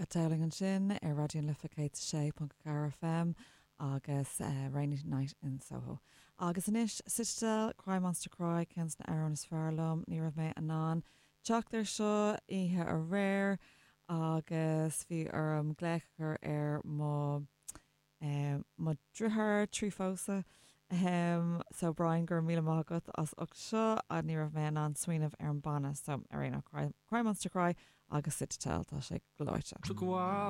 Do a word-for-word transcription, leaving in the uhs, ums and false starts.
Cat Dowling ansin ar Raidió na Life céad sé ponc ceathair FM agus uh, Rainy Night in Soho. Agus anois Citadel Cry Monster Cry ceann de na hamhráin is fearr liom ní raibh mé in ann teacht air seo oíche aréir agus bhí orm glaoch ar mo um, mo dheartháir trí phósadh. Um, so Brian gur míle maith as ucht seo a ní raibh mé an smaoineamh ar an banna so ar aon Cry, Cry Monster Cry agus Citadel tá sé gleoite. Took a while